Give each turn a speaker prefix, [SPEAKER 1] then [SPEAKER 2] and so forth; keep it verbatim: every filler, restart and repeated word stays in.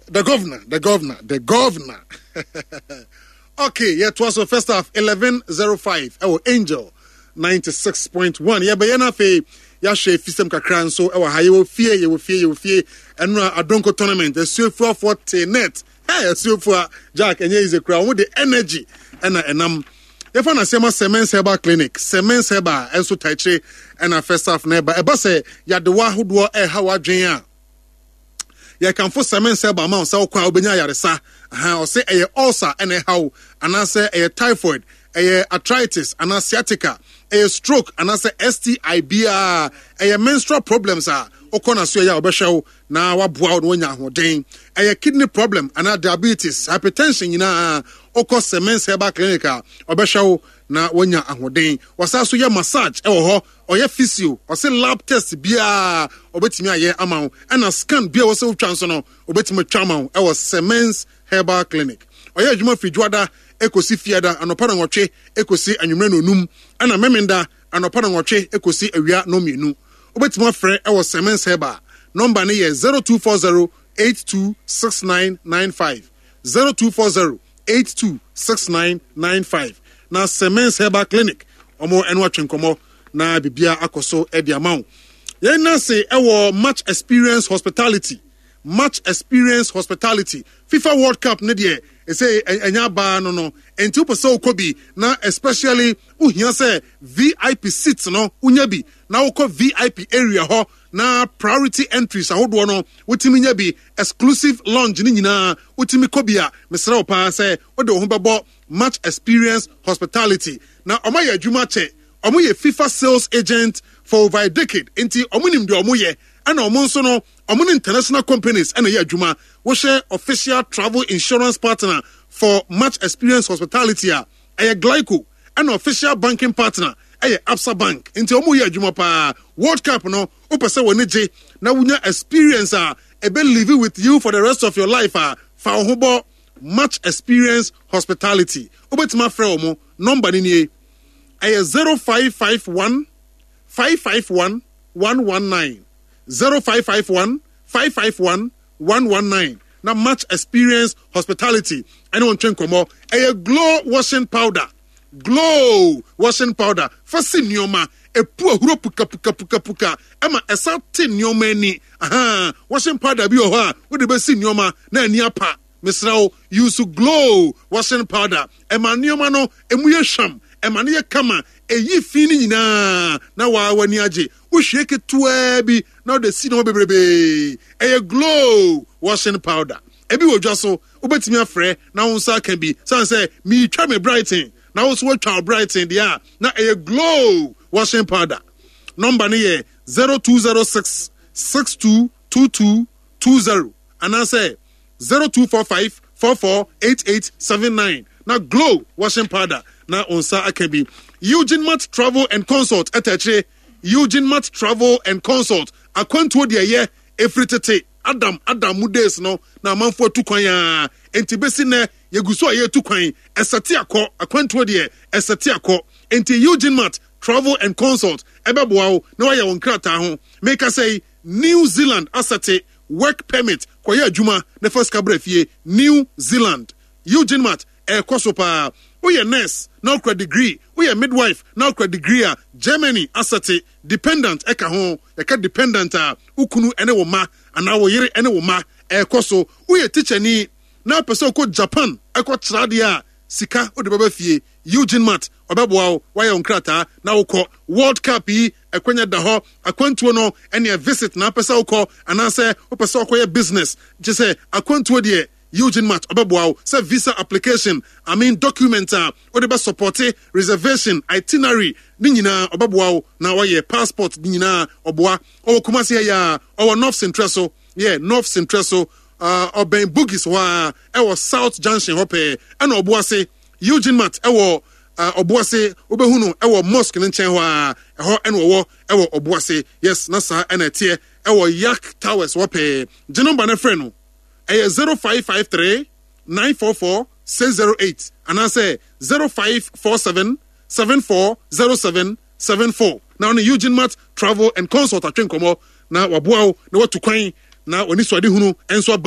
[SPEAKER 1] The governor, the governor, the governor. Okay, yɛtoa so. First half, eleven oh five ɛwɔ Angel ninety-six point one. Yɛbɛyɛ no afei yɛahwɛ fisɛm kakra nso ɛwɔ ha. Yɛwɔ fie, yɛwɔ fie, yɛwɔ fie. Ɛno a Adonko tournament, Asuafuafoɔ te net. Hey, Asuafua Jack, ɛnyɛ easy kora. Wɔn de energy ɛna ɛnam. Yɛfa no asɛm Semens Herbal Clinic. Semens Herbal ɛnso taikyire ɛna first half na ɛba ɛba sɛ yadewa ahodoɔ ɛɛha w'adwen a, yɛkamfo Semens Herbal ma wo sɛ wokɔ a wobɛnya ayaresa. Ɔsɛ ɛyɛ ulcer ɛna ɛha wo, anaasɛ ɛyɛ typhoid, ɛyɛ arthritis anaa sciatica, ɛyɛ stroke anaasɛ S T I biara, ɛyɛ menstrual problems a, wokɔ na so ɛyɛ a wɔbɛhwɛ wo na waboa wo na wanya ahoɔden. Ɛyɛ kidney problem anaa diabetes, hypertension nyinaa, wokɔ Semens Herbal Clinic a, ɔbɛhwɛ wo na wanya ahoɔden. Wɔsan so yɛ massage ɛwɔ hɔ, ɔyɛ physio, ɔsɛ lab test biara ɔbɛtumi ayɛ ama wo, ɛna scan bia wɔ sɛ wotwa nso no, ɔbɛtumi atwa ama wo ɛwɔ Semens Herbal Clinic. Ɔyɛ adwuma firi Dwoada ekosi Fiada anɔpa na nwɔtwe ekosi anwummerɛ na onum, ɛna Memenda anɔpa na nwɔtwe ekosi awia no mmienu. Wobɛtumi afrɛ ɛwɔ Semens Herbal. Nɔmba no yɛ zero two four zero eight two six nine nine five, zero two four zero eight two six nine nine five, na Semens Herbal Clinic ɔmo ɛno atwe nkɔmɔ na bibia akɔ so ɛde ama wo. Yɛn nase ɛwɔ Match Experience Hospitality. Match Experience Hospitality, FIFA World Cup ne deɛ ɛsɛ ɛnya abaa no no nti, wopɛ sɛ wokɔ bi na especially wohia sɛ V I P seat no wonya bi na wokɔ V I P area hɔ na priority entries ahodoɔ no wotumi nya bi, exclusive lounge ne nyinaa wotumi kɔ bi a, mesrɛ wo paa sɛ wode wo ho bɛbɔ Match Experience Hospitality. Na ɔmo ayɛ adwuma kyɛ. Ɔmo yɛ FIFA sales agent for over a decade, nti ɔmo nim deɛ ɔmo yɛ. Ɛna ɔmo nso no, ɔmo ne international companies ɛna ɛyɛ adwuma. Wohyɛ official travel insurance partner for Match Experience Hospitality a, ɛyɛ Glico, ɛna official banking partner ɛyɛ Absa Bank. Nti ɔmo yɛ adwuma paa. World Cup no, wopɛ sɛ wɔne gye na wonya experience a ɛbɛ live with you for the rest of your life a, fa wo ho bɔ Match Experience Hospitality. Wobɛtumi afrɛ wɔn nɔmba no nie, ɛyɛ zero five five one five five one one one nine, zero five five one five five one one one nine, na Match Experience Hospitality ɛne wɔn twɛ nkɔmɔ. Ɛyɛ Glow washing powder. Glow washing powder fa si nneɛma epu ahuro pukapukapukapuka, ɛma ɛsa te nneɛma ani. Ahan, washing powder bi wɔ hɔ a wode bɛsi nneɛma na ani apa. Mesrɛ wo, use Glow washing powder. Ɛma nneɛma no emu yɛ hwam, ɛma no yɛ kama, ɛyi fi no nyinaa na waa w'ani agye. Wohwie ketewaa bi na wode si nneɛma bebrebee. Ɛyɛ Glow washing powder. Ebi wɔ dwa so, wobɛtumi afrɛ na wo nsa aka bi. Sane sɛ meretwa me Brighton na wo nso woatwa wo Brighton deɛ a, na ɛyɛ Glow washing powder. Nɔmba no yɛ zero two zero six six two two two two zero anaasɛ zero two four five four four eight eight seven nine, na Glow washing powder na wo nsa aka bi. Eugene Mart Travel and Consult ɛta akyire. Eugene Mart Travel and Consult, akwantuo deɛ ɛyɛ ɛfiri tete Adam Adam mu days no na amanfoɔ atu kwan a, nti bɛsi nnɛ yɛgu so a yɛtu kwan. Ɛsɛte akɔ, akwantuo deɛ ɛsɛte akɔ, nti Eugene Mart Travel and Consult ɛbɛboa wo na wayɛ wo nkrataa ho. Meka sɛ New Zealand asɛte work permit, kɔyɛ adwuma na fa sika brɛ fie. New Zealand, Eugene Mart ɛkɔ so paa. Woyɛ nurse na wokura degree, woyɛ midwife na wokura degree a, Germany asɛte dependent ɛka ho. Yɛka dependent a, wo kunu ne wo ma anaa wo yere ne wo ma. Ɛkɔ so. Woyɛ tikyani na wopɛ sɛ wokɔ Japan ɛkɔ kyerɛ adeɛ a, sika wode bɛba fie, Eugene Mart ɔbɛboa wo wayɛ wo nkrataa na wokɔ. World Cup yi, ɛkwanya da hɔ. Akwantuo no ɛneɛ visit na apɛ sɛ wokɔ anaasɛ wopɛ sɛ wokɔyɛ business, gye sɛ akwantuo deɛ, Eugene Mart ɔbɛboa wo sɛ visa application, I mean document a wode bɛ support reservation, itinerary ne nyinaa ɔbɛboa wo na wayɛ passport ne nyinaa ɔboa. Ɔwɔ Kumase ha yi a, ɔwɔ North Central so, yɛ North Central so, ɔbɛn Bugis hɔ a, ɛwɔ South Junction hɔ pɛɛ. Ɛna Ɔboase, Eugene Mart ɛwɔ Ɔboase, wobɛhu no ɛwɔ mosque no nkyɛn hɔ a, ɛhɔ ɛna ɔwɔ ɛwɔ Ɔboase. Yes, na saa ɛna ɛteɛ ɛwɔ Yak Towers hɔ pɛɛ. Gye nɔmba no frɛ no, ɛyɛ zero five five three nine four four six zero eight anaasɛ zero five four seven seven four zero seven seven four, na ɔne Eugene Mart Travel and Consult atwe nkɔmmɔ na waboa wo na watu kwan na w'ani so ade hunu nso aba.